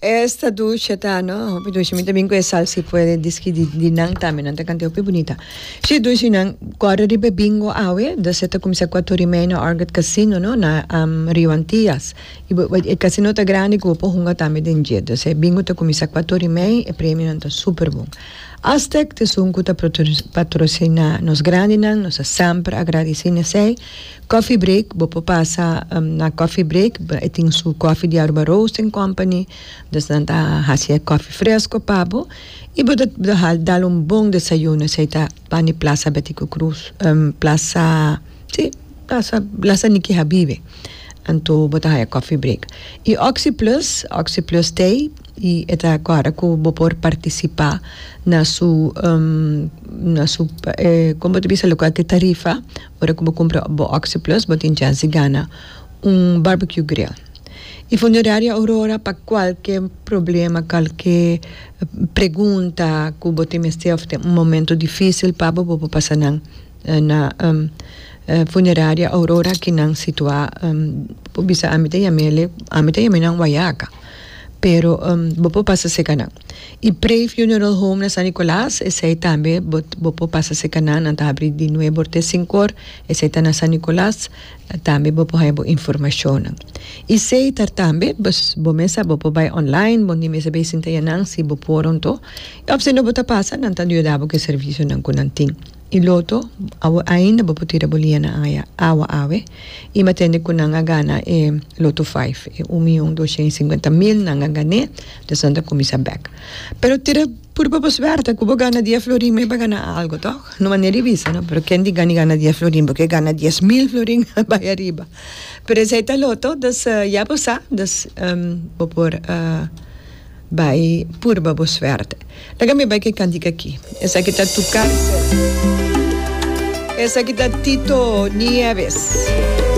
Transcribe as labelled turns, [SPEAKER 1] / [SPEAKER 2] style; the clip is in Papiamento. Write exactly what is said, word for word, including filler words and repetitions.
[SPEAKER 1] Esta dushi ta, no? Hopi dushi. Mi tambe ku e sal si puede diski di, di nan tambe. Nan ta kanta hopi bunita. Si dushi nan, kòrda riba bingo awe, dus e ta kuminsá kuater i mei na Orchid Casino, no? Na um, Rio Antillas. I bo- e casino ta grandi ku bo por hunga tambe den dje. Dus e bingo ta kuminsá kuater i mei, e premionan ta super bon. Aztec ta esun ku ta patrosiná nos grandinan, nos ta semper agradesí na esei. Coffee Break, bo por pasa um, na Coffee Break, e tin su coffee di Aruba Roasting Company, dus nan ta hasi coffee fresco pa bo. I bo ta dal un bon desayuno, esei ta pani Plaza Betico Croes, um, Plaza, si, Plaza, Plaza Niki Habibe. Anto bo ta haya Coffee Break. I Oxi Plus, Oxi Plus t'ei, i e ta awor ku bo por partisipá na su um, na su eh, kon ta bisa loke ta tarifa, ora ku bo kumpra bo Oxi Plus, bo tin chèns di gana un barbecue grill. I Funeraria Aurora pa kualke problema, kualke pregunta ku bo tin òf un momento difísil pa bo por pasa na na um, Funeraria Aurora ku nan situá um, bisa ami ta yam'é ami ta yam'é nan Wayaca pero um, bo por pasa serka nan. I Pre Funeral Home na San Nicolas, esei tambe bo bo por pasa serka nan, nan ta habri di nuebe te sinku or, esei ta na San Nicolas, tambe bo por haña informashon. I Setar tambe, bo mes bo por bai online, bo no mester bai sinta einan si bo por anto. I òf si no bo ta pasa, nan ta yuda bo ku servisionan ku nan tin. I Lotto, ainda bo por tira bo liña na awa awe. I m'a tende ku nan a gana e Lotto sinku, e un mion doshen sinkuenta mil nan a gan'é, dus nan ta kuminsá bèk. Pero tira purba bo suerte, ku bo gana dies florin, mi gana algu, toch? No manera bisa, no? Pero ken di gana gana dies florin, pasobra gana dies mil florin bai ariba. Pero esei ta Lotto, dus uh, ya bo sa, dus um, bo por uh, bai purba bo suerte. Laga mi bai ku e kantika aki. Esaki ta Tu Cárcel. Esaki ta Tito Nieves.